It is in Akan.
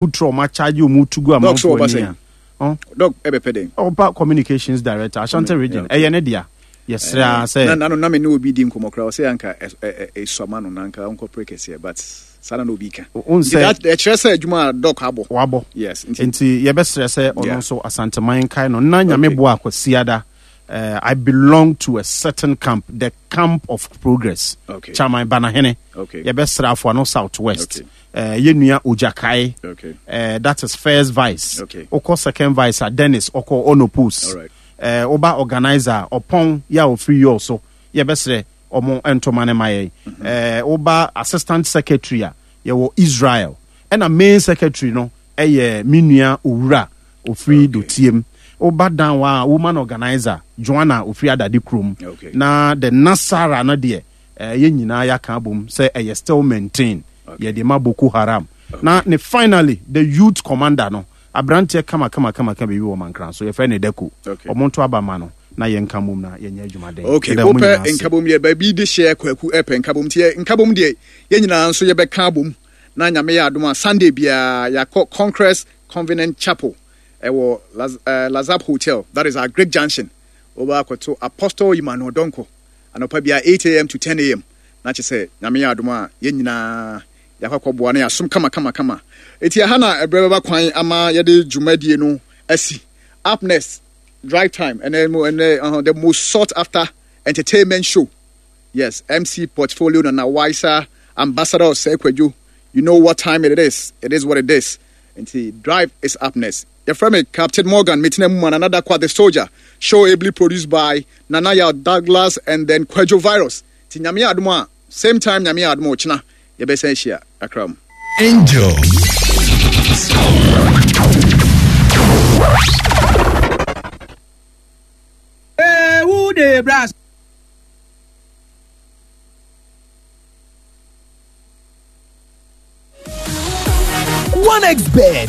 Wotra ɔmo akyagye ɔmo tu gu Doc so amanfoɔ ɔba ani sɛn? a. Ɔn? Doc ɛbɛpɛ dɛn? Ɔba communications director Ashanti region yeah, okay. ɛyɛ ne dea. Yɛsrɛ ara Na sɛ. na no na me ne obi di nkɔmmɔ koraa ɔsɛ anka ɛsua ma no na anka ɔnkɔpere kɛseɛ but saa na na obi ka. Wohu Nti sɛ. that ɛkyerɛ sɛ adwuma a Doc abɔ. Wabɔ. Yes nti. Nti yɛbɛsrɛ sɛ ɔno Yeah. nso Asanteman nkae no na Nyame Okay. boa Kwasiada eh, I belong to a certain camp, the camp of progress. Okay. Chairman Banahene. Okay. Yɛbɛsrɛ Afoano South West. Okay. Eh, yɛn nua Ogyakae. Okay. Eh, that is first vice. Okay. Wokɔ second vice a Dennis ɔkɔ Onopus. All right. Eh, woba organizer a ɔpɔn yɛ a ɔfiri yɔɔ so yɛbɛsrɛ ɔmo ntoma no ma yɛn. Eh, woba assistant secretary a yɛwɔ Israel. Ɛna main secretary no ɛyɛ me nua Owura ɔfiri Okay. Dotiem. Woba down a woman organizer Joanna ɔfiri Adade kurom. Okay. Na the Nasara no deɛ eh, yɛn nyinaa yɛaka abom sɛ ɛyɛ still maintain Okay. yɛde ma Boko Haram. Na ne finally the youth commander no aberanteɛ kama kama kama kama biribi wɔ Mankran so yɛfrɛ no Dako. Okay. Ɔmo nto aba ma no na yɛnka mmom na yɛnyɛ adwumaden. Okay, Yɛda mo wopɛ nyinaa ase. nkabom deɛ baabi de hyɛ kwaku ɛpɛ nkabom nti yɛ nkabom deɛ yɛn nyinaa nso yɛbɛka abom na nyame yɛ adom a Sunday biara yɛakɔ Congress Covenant Chapel ɛwɔ Laz, Lazap Hotel that is our Great Junction wobɛ akɔto Apostle Emmanuel Donko anɔpa biara 8am to 10am na kyɛ sɛ nyame yɛ adom a yɛn nyinaa yɛakɔ akɔboa na yɛasom kama kama kama eti ɛha na ɛbrɛ bɛba kwan ama yɛde dwumadie no asi. Up next, drive time ɛnɛ mu ɛnɛ the most sought after entertainment show. Yes, MC Portfolio Nana Wiser, Ambassador of Kwadwo. You know what time it is. It is what it is. Nti drive is up next. Yɛfrɛ me Captain Morgan Metina mu Nana Dakwa the Soldier. Show ably produced by Nana Yaw Douglas and then Kwadwo Virus. Nti Nyame yɛ adom a, same time Nyame yɛ adom a ɔkyena yɛbɛsan ahyia kakra mu. Angel. Hey, who dey brass? 1xBet.